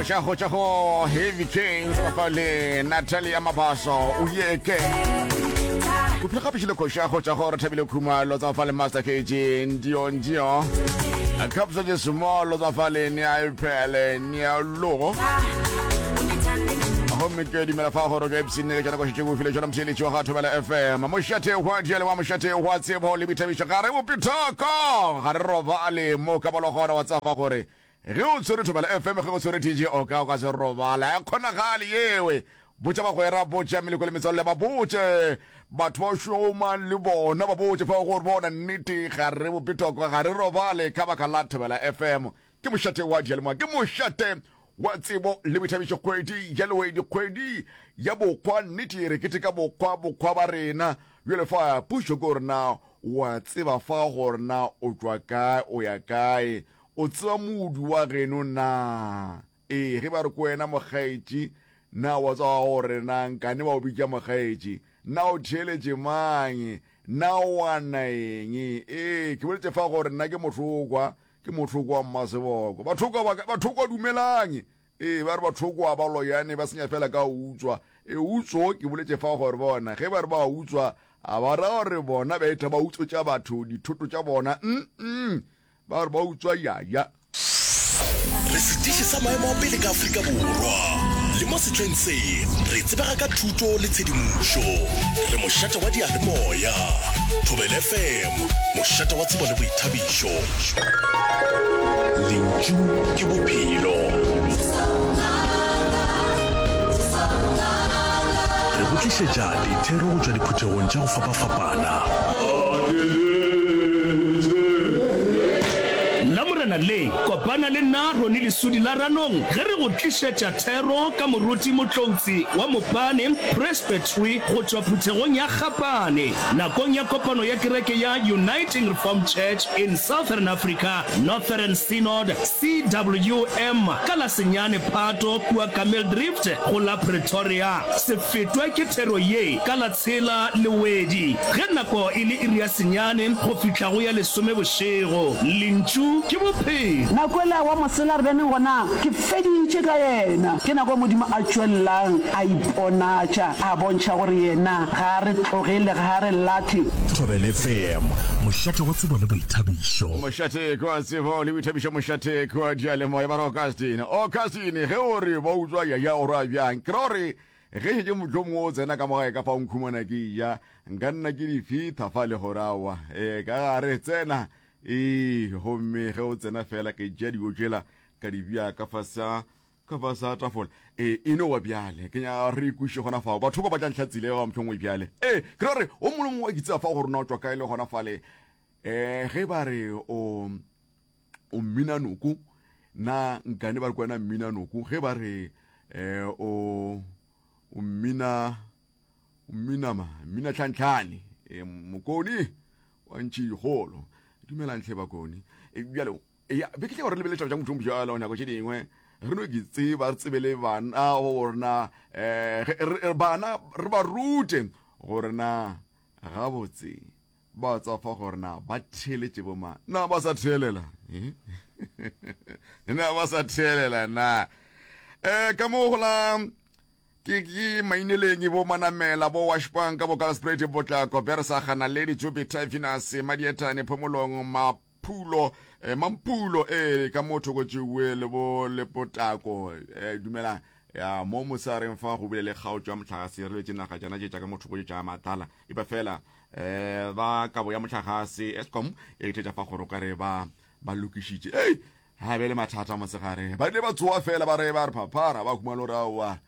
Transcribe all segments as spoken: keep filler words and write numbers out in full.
Koša go tša go Heavy King sebafa le Natalia Mabaso o yeke. Kuphile gape šile koša go tša go re thabile khumalo tsa fa le Master K G ndio ndio. Kapsa je small tsa fa le nia iphele nia logo. Gomme ke dumela fa gore ke ipshinne ke tšona koša tše o file tšona motheeletši wa ga Thobela F M. Mošate wa diale wa mošate wa tsebo le boithabišo, ga re bopithoko, ga re robale mo ka bolo gona wa tsafa gore ge o tshwere Thobela F M, ge o tshwere D J Oka, o ka se robala e kgonagale yewe. Botša bagwera, botša meleko le metswalle, ba botše batho ba šoma le bona, ba botše fa gore bona nnete ga re bopithoko, ga re robale ka baka la Thobela F M. Ke mošate wa dialemoya, ke mošate wa tsebo le boithabišo. Kgwedi ya Lewedi, kgwedi ya bokgwa, nnete re keteka bokgwa, bokgwa ba rena. Bjale fa pušo ke gore na wa tseba fa gore na o tšwa kae, o ya kae, o tseba modu wa geno na? Ee, ge ba re ko wena mokgaetši, na wa tseba gore na nkane ba o bitša mokgaetši, na o theeletše mang, na o ana eng? Ee, ke boletše fa gore nna ke mothokwa, ke mothoko wa Mmaseboko. Bathokwa ba bathokwa dumelang. Ee, ba re bathokwa ba loyane, ba senya fela ka utswa. E utso ke boletše fa gore bona ge ba re ba utswa, a ba ra gore bona ba etha ba utswetša batho dithoto tša bona. Mm ba re ba utswa yaya. Re setiši sa maemo a pele ka Afrika Borwa le mo sehleng se re tsebega ka thuto le tshedimošo. Re mošate wa diyalemoya. Thobela F M, mošate wa tsebo le boithabišo. Lentšu ke bophelo. Re go tlišetša dithero go tšwa diphuthegong tša go fapafapana. Lamorena le, kopana le nna Roni Lesudi la Ranong ge re go tlišetša thero ka moruti Motloutsi wa Mopane Presbytery go tšwa phuthegong ya Gapane nakong ya kopano ya kereke ya Uniting Reformed Church in Southern Africa Northern Synod C W M ka la senyane Phato kua Kameeldrift go la Pretoria. Se fetwe ke thero ye ka la tshela Lewedi ge nako e le iri ya senyane go fihla go ya lesome bošego. Lentšu ke bophelo. Nako ela wa mosela re beneng gona, ke feditše ka yena. Ke nako Modimo a tšwelelang a iponatša, a bontšha gore yena ga a re tlogele, ga a re lahle. Thobela F M, mošate wa tsebo le boithabišo. Mošate kwa tsebo le boithabišo, mošate kwa diyalemoya. Ba re Augustine, Augustine, ge o re ba utswa yaya o ra bjang? Ke ra gore ge šetše motho mongwe o tsena ka mogae ka fa o nkhumana ke ja, nka nna ke di fitha fa le gore aowa e ka gare tsena ee. Gomme ge o tsena fela ke tšea dijo tšela ka di bja ka fasa ka fasa tafola. Ee, e no wa bjale ke nyaka re ikweše gona fao. Batho ba ba tla ntlhatsile ba mohlomongwe bjale. Ee, ke ra gore o mongwe le mongwe wa ke tseba fa gore na o tšwa kae le gona fale. um ge ba re o o mmina noko, na nkane ba re kwena mmina noko? Ge ba re um o o mmina o mmina ma mmina tlhantlhane, e mokoni wa ntši dikgolo, dumelang tlhe bakoni. E bjale ya be ke tla gore lebeletša tša motho bjalo nako tše dingwe re no ke tseba re tsebe le bana gore na um bana re ba rute gore na gabotse ba tsafa gore na ba theeletše boma, na ba sa theelela, na ba sa theelela na. um ka mo go la ke ke maineleng bo Manamela, bo Washbank, bo Kalspruit, Potlako, Bersaga, Naledi, Jupiter, Venus, Madietane, Phomolong, Maphulo, eh, Mampulo, eh ka mo thoko tšewe le bo Lepotako. eh dumelang ya mo mosareng fa go bile le kgaotšo ya mohlagase, re letše naga tšana tše tša ka mo thoko tše tša matala e ba fela eh ba kabo ya mohlagase Eskom e thetša fa gore o ka re ba ba lokišitše. Ei, ga be le mathata mosegare, ba ile ba tsoa fela ba re ba re phaphara ba humana gore aowa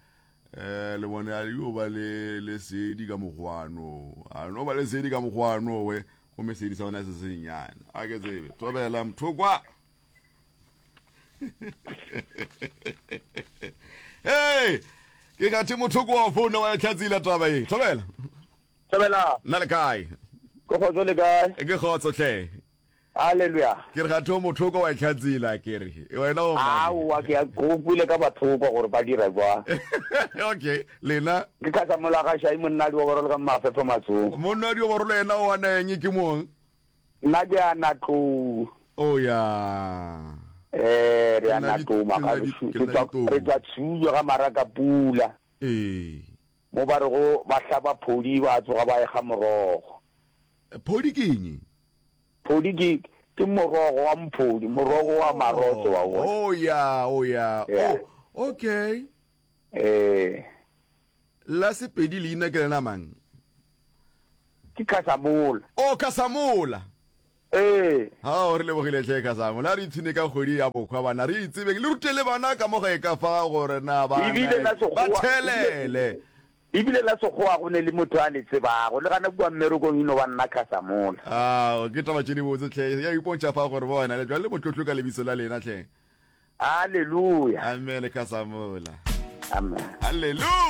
eh le bone a yo ba le lesedi ka mokgwano, a no ba lesedi ka mokgwano we, gomme sedi sa bona se sennyane a ke tsebe. Thobela mothokwa. Hey, ke gathe mothoko wa founa wa tlhatsila taba e. Thobela. Thobela. Nna le kae? Ke kgotso, le kae? Ke kgotso tlhe. Halleluja. Ke re gathe o mothoko wa tlhatsila, ke re wena o mang? Aowa, ke a go kwele ka bathoko gore ba dira jwang. Okay, lena. Ke ka sa molagašai monna a dioborolo ka mafefo matsong. Monna a dioborolo yena o ana eng ke mong? Nna ke ana tlou. O ya. Eh, re Ke a nna di- natoma ke ga nna di- gešo. ke Re nna tšwa ditou. re tšwa Tshujo ga Marakapula. Ee. Mo ba rego ba hlaba phodi ba tsoga ba ekga morogo. Phodi ke eng? Phodi ke ke morogo wa mphodi, morogo wa marotse wa bona. Oh ya, oh ya. Yeah. Oh, okay. Eh, La Sepedi leina ke lena mang? ke Khasamola. Oh, Khasamola. Ee. Ao, re lebogile hle Khasamola. A re ipshine ka kgwedi ya bohwa bana, re itsebeng. Le rute le bana ka mo gae ka fa gore na ba Ebile la ba Sekgowa, thelele. ebile la Sekgowa go ne le motho a le tsebago. Le gana kua mmerekong e no ba nna Khasamola. Ao, ke taba tše dibotse hle. Ya ipontšha fa gore bona le jwale le motlotlo ka lebiso la lena hle. Haleluya. Amen Khasamola. Amen. Haleluya.